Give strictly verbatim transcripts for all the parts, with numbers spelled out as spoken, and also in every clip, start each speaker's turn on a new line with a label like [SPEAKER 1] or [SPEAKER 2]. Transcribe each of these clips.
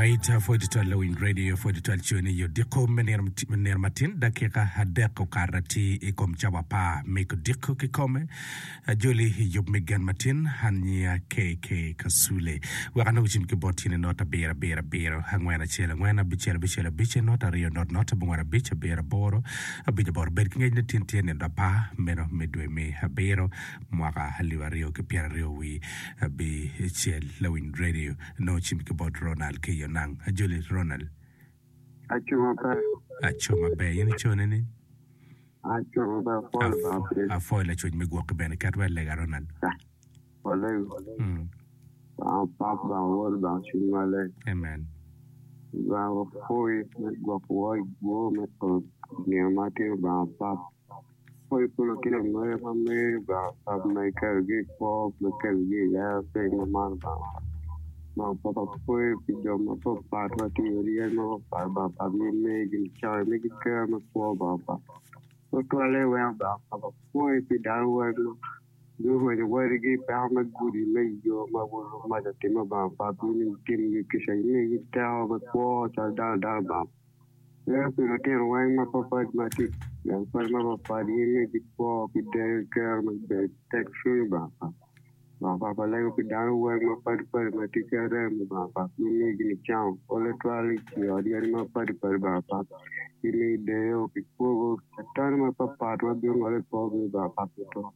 [SPEAKER 1] Alright, pwod twal lawiny radio, pwod twal coni i odiko me nino nino matin dakika adek okato atir i kom cawa apar me kodiko kikome. Ajoli i yub me gen matin, an nyinga KK Kasule. Wek anong cim ki bot tyene not abiro abiro abiro angwen acel angwen abicel abicel abic not aryo not not abongwen abic abiro aboro abic aboro. Bed ki ngec ni tin tye nino apar meno me dwe me abiro mwaka alip aryo ki pyeraryo wi abicel. Lawiny radio nongo cim ki bot Ronald ki i Onang. Ajoli Ronald.
[SPEAKER 2] Aco maber.
[SPEAKER 1] Aco maber. In icone ni?
[SPEAKER 2] Aco maber. Apwoyo Lubanga piri.
[SPEAKER 1] Apwoyo lacwec me gwoki bene. Ket wa i lega Ronald.
[SPEAKER 2] Walego.
[SPEAKER 1] Mm.
[SPEAKER 2] Lubanga Pap, Lubanga Wod, Lubanga Cwiny Maleng.
[SPEAKER 1] Amen.
[SPEAKER 2] Lubanga wapwoyi me gwokowa i bwo me ot nino ma tye Lubanga Pap. Apwoyi pi lutino mege ma meri Lubanga Pap ma ikelogi i kwo ma ikelogi i ler piny ma man Lubanga Pap. Lubanga Pap apwoyi pi jo mapatpat ma tye i odi yadi mapatpat Lubanga Pap in imigi nicawa imigi ker me kwo Lubanga Pap. Tutwalle weng Lubanga Pap apwoyi pi dano weng ma gurwenyo wadigi i peko me gudi me yo ma mac otimme Lubanga Pap in itimgi kica imigi teko me kwo calo dano dano Lubanga Pap. Lego pi lutino weng mapatpat ma tye i gang kwan mapatpat in imigi kwo ki deyo ki kero me bedo tekcwiny Lubanga Pap. Lubanga Pap alego pi dano weng mapatpat ma tye ki arem Lubanga Pap in imigi nicango pol tutwal i ot yadi mapatpat Lubanga Pap imigi deyo ki kwogo catan mapatpat ma bino ngolo i korgi Lubanga Pap tutwal.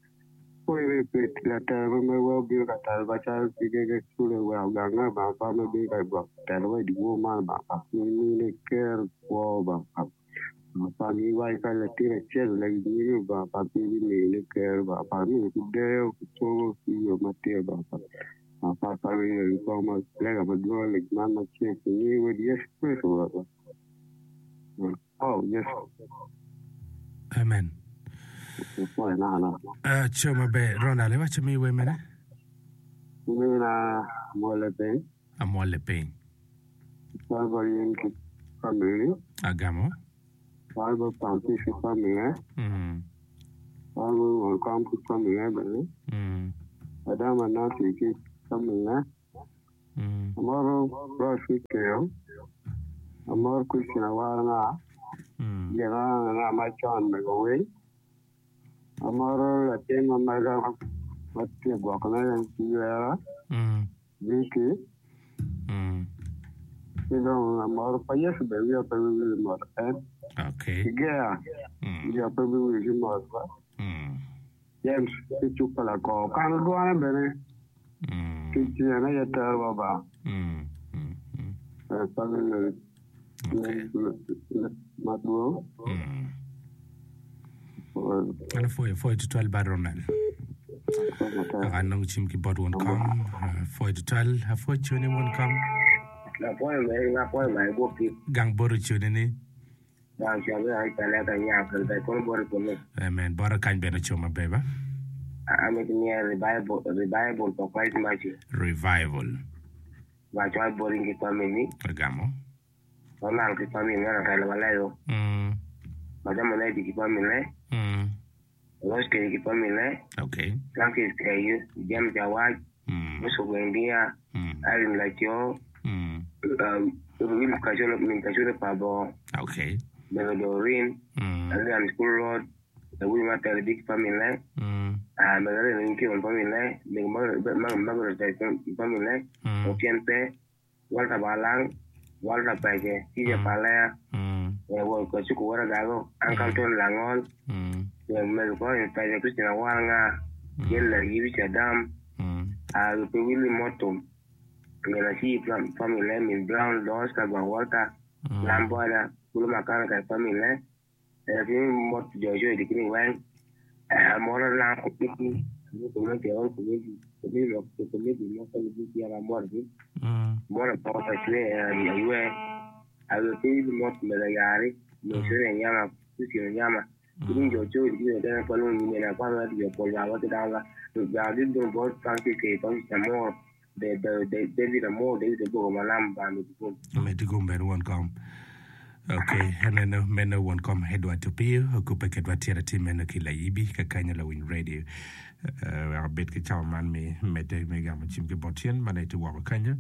[SPEAKER 2] Pwoyi pi latelo ma megwa obino ka telo macalo kigege cule weko gange Lubanga Pap ma bino ka gwoko telowa i dyewor man Lubanga Pap in imine ker kwo Lubanga Pap. Lubanga Pap in iwaco ka latin acel olego i nyimi Lubanga Pap in ibimine ker Lubanga Pap imine ki deyo ki kwogo ki yo matir Lubanga Pap. Lubanga Pap ka winyo i kong ma lega madwong lec man macek i nying Wod Yecu Kricito Rwotwa. Oh, Yecu.
[SPEAKER 1] Amen.
[SPEAKER 2] Apwoyo naka.
[SPEAKER 1] Aco maber. Ronald, iwaco mi wer mene?
[SPEAKER 2] Mina amwolle piny.
[SPEAKER 1] Amwolle piny.
[SPEAKER 2] Cwal bot in ki family.
[SPEAKER 1] Agamo.
[SPEAKER 2] Cwal bot Francis ki family.
[SPEAKER 1] Mm.
[SPEAKER 2] Cwal bot won kom ki family bene.
[SPEAKER 1] Mm.
[SPEAKER 2] Adama Nancy ki family.
[SPEAKER 1] Mm.
[SPEAKER 2] Amoro Rose ki Keo. Amoro Christian Awaranga.
[SPEAKER 1] Mm.
[SPEAKER 2] Gin nga macon mego winy. Amoro latin ma mega ma tye gwokone ki ywera.
[SPEAKER 1] Mm.
[SPEAKER 2] Vicky.
[SPEAKER 1] Mm.
[SPEAKER 2] Ki dong amoro pa Yecu bene wiya pe biwil mot en.
[SPEAKER 1] Okay.
[SPEAKER 2] Ki Gea
[SPEAKER 1] Mm.
[SPEAKER 2] wiya pe biwil ki mot ba.
[SPEAKER 1] Mm.
[SPEAKER 2] James ki cuk pa lakor kano dwone bene
[SPEAKER 1] Mm.
[SPEAKER 2] ki cen aye terowa ba.
[SPEAKER 1] Mm. Mm. Mm.
[SPEAKER 2] Eh, pa biwil
[SPEAKER 1] Okay.
[SPEAKER 2] madwong.
[SPEAKER 1] Mm. An apwoyo apwoyo tutwal ba Ronald. Aka anongo cim ki bot won kom. Apwoyo tutwal. Apwoyo coni won kom.
[SPEAKER 3] Apwoyo megi, apwoyo ma igwoki.
[SPEAKER 1] Gang bot oconi ni.
[SPEAKER 3] Gang cabe ai pele ka nya kel ka kono bot kunu.
[SPEAKER 1] Amen. Bota kany bene oco maber ba.
[SPEAKER 3] Amito niya revival, revival for Christ Mercy.
[SPEAKER 1] Revival.
[SPEAKER 3] Waco ai bot in ki family.
[SPEAKER 1] Agamo.
[SPEAKER 3] Ronald ki family ne Rafael Walego.
[SPEAKER 1] Mm.
[SPEAKER 3] Madam Onedi ki family.
[SPEAKER 1] Mm.
[SPEAKER 3] Rose Kedi ki family.
[SPEAKER 1] Okay.
[SPEAKER 3] Francis Keyu, James Awaj,
[SPEAKER 1] Mm.
[SPEAKER 3] Musa Gwendia,
[SPEAKER 1] Mm.
[SPEAKER 3] Irene Laco,
[SPEAKER 1] Mm.
[SPEAKER 3] um, Will Kacholo, Min Kacholo Pabo,
[SPEAKER 1] Okay.
[SPEAKER 3] Mego Doreen,
[SPEAKER 1] Mm.
[SPEAKER 3] Adrian School Road, Lawil Matel Big Family,
[SPEAKER 1] Mm.
[SPEAKER 3] ah, Mego Irene Kion Family, Mego Margaret Margaret Family,
[SPEAKER 1] Mm.
[SPEAKER 3] Otien Pe, Walter Balang, Walter Pece, Tija
[SPEAKER 1] Mm.
[SPEAKER 3] Palea,
[SPEAKER 1] Mm.
[SPEAKER 3] eh, Wol Kasuku Wora Gago, Uncle Tony Langol,
[SPEAKER 1] Mm.
[SPEAKER 3] eh, Mego Collins Pece, Christina Waranga,
[SPEAKER 1] Mm.
[SPEAKER 3] Jella Yibicha Dam,
[SPEAKER 1] Mm.
[SPEAKER 3] ah, Lupe Willie Motum, Ngena Chi Family, Min Brown, Dos Kagwa Walter,
[SPEAKER 1] Mm.
[SPEAKER 3] Lamboda, Kulu Makana Kai Family, eh, ki mot Joshua Dikini Weng, eh, Moro Lang Committee, Committee, all committee, committee, committee, mo committee, ya moro
[SPEAKER 1] Mm.
[SPEAKER 3] Moro poko pa cwe aywe, aywe pe mot mega yari, mo sene nyama, kusino nyama. Kini jo cho kini dena pa lu ni na pa na jo pol ba wa da la. Ba di do bo Francis ke Francis Amor, de de de David Amor, David Bogo malam ba mi ko.
[SPEAKER 1] Metigum bene won kom. Okay, eneno meno won kom Edward Opio okupe kedwa tira ti meno ki layibi kakanyo lawiny radio. Wek abed ki cawa man me medde me gamo cim ki bot tyen ma nongo itye woko kenyo,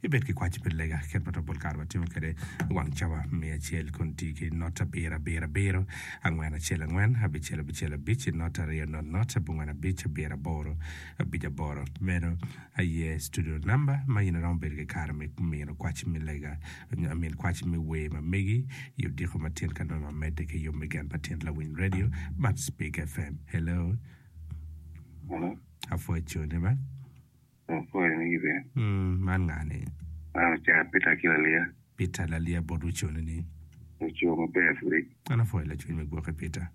[SPEAKER 1] ibed ki kwac me lega kit ma pol kare watimo kwede wang cawa me acel kun tye ki not abiro abiro abiro angwen acel angwen abicel abicel abic not aryo not not abongwen abic abiro aboro abic aboro. Meno aye studio namba ma in iromo bedo ki kare me mino kwac me lega nyo I mean kwac me wer ma megi i odiko matin ka nongo wamedde ki yub me gen pa tyen lawiny radio man Speak F M. Hello.
[SPEAKER 2] Hello.
[SPEAKER 1] Apwoyo cone ba.
[SPEAKER 2] Apwoyo ni ibe.
[SPEAKER 1] Mm, man nga ni?
[SPEAKER 2] Man oca Peter ki Lalia.
[SPEAKER 1] Peter Lalia bot ucone ni.
[SPEAKER 2] Oco maber pudi.
[SPEAKER 1] An apwoyo lacwiny me gwoki Peter.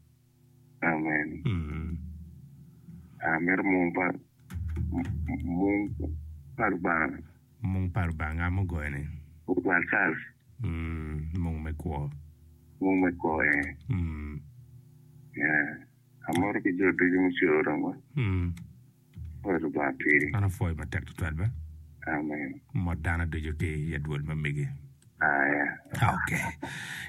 [SPEAKER 2] Amen.
[SPEAKER 1] Mm.
[SPEAKER 2] Amito mung pa mung pa Lubanga.
[SPEAKER 1] Mung pa Lubanga nga mugoyo ni?
[SPEAKER 2] Ogwal Charles.
[SPEAKER 1] Mm, mung me kwo.
[SPEAKER 2] Mung me kwo eh.
[SPEAKER 1] Mm.
[SPEAKER 2] Yeah. Amoro ki jo ducu mucoro dong.
[SPEAKER 1] Mm.
[SPEAKER 2] Apwoyo Lubanga piri.
[SPEAKER 1] An apwoyo matek tutwal ba.
[SPEAKER 2] Amen.
[SPEAKER 1] Mot dano ducu ki i adwol ma megi.
[SPEAKER 2] Aya.
[SPEAKER 1] Ok.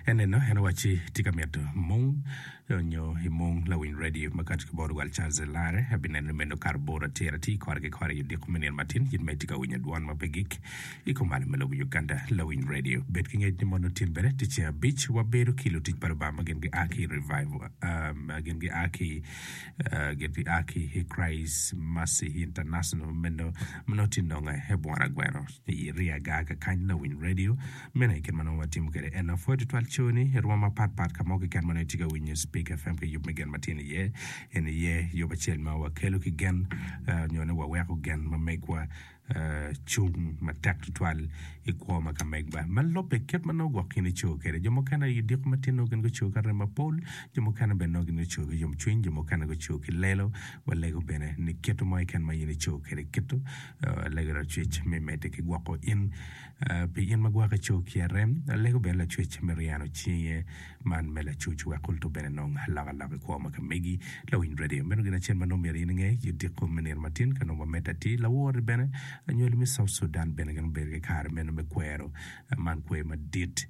[SPEAKER 1] Eneno en owacci tye ka mito mung nyo i mung lawiny radio ma kati ki bot Ogwal Charles Elare. Abineno ni meno okato bor atir atir kore ki kore i odiko me nino matin. In ma itye ka winyo dwon ma pe gik i kom malo me lobo Uganda lawiny radio. Bed ki ngec ni mono tin bene tye ceng abic wabedo ki lutic pa Lubanga ma gin gia ki i revival um, gin gia ki uh, gin gia ki i Christ Mercy International meno ma nongo tye nonge i Bwona Gweno i Riaga kakany lawiny radio. Meno aye kit ma nongo watimo kwede en apwoyo tutwal coni i rwom mapat pat ka mo keken ma nongo itye ka winyo Speak F M ki yub me gen ma tye iye. En aye yub acel ma wakelo ki gen nyo ni waweko gen ma megwa cung matek tutwal i kwo ma ka megwa. Ma lubbe kit ma nongo gwok in ico kwede. Jo mukene i odiko matin nongo gin guco ki arem mapol, jo mukene bene nongo gin guco ki yomcwiny, jo mukene guco ki lelo. Walego bene ni kit mo keken ma in ico kwede kito alego lacwec me medde ki gwoko in pi in ma gwok ico ki arem. Alego bene lacwec me ryeno cinge man me lacuc wek kultu bene nong alokaloka i kwo ma ka megi. Lawiny radio meno gin acel ma nongo myero in inge i odiko me nino matin ka nongo wamedde atir. Lawor-ri bene anywali me South Sudan bene gin obedo ki kare meno me kwero man kwer madit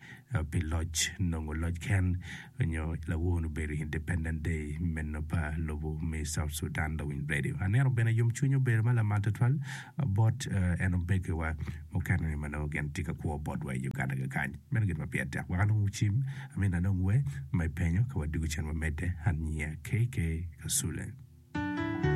[SPEAKER 1] pi loc nongo loc ken nyo lawor obedo Independent Day meno pa lobo me South Sudan. Lawiny radio aneno bene yomcwiny obedo ma lamal tutwal bot en omegiwa mukene ma nongo gin tye ka kwo botwa i Uganda kakany. Meno gin ma pire tek wek anong cim amin anong wer ma ipenyo ka wadwogo cen wamedde an nyinga K K Kasule.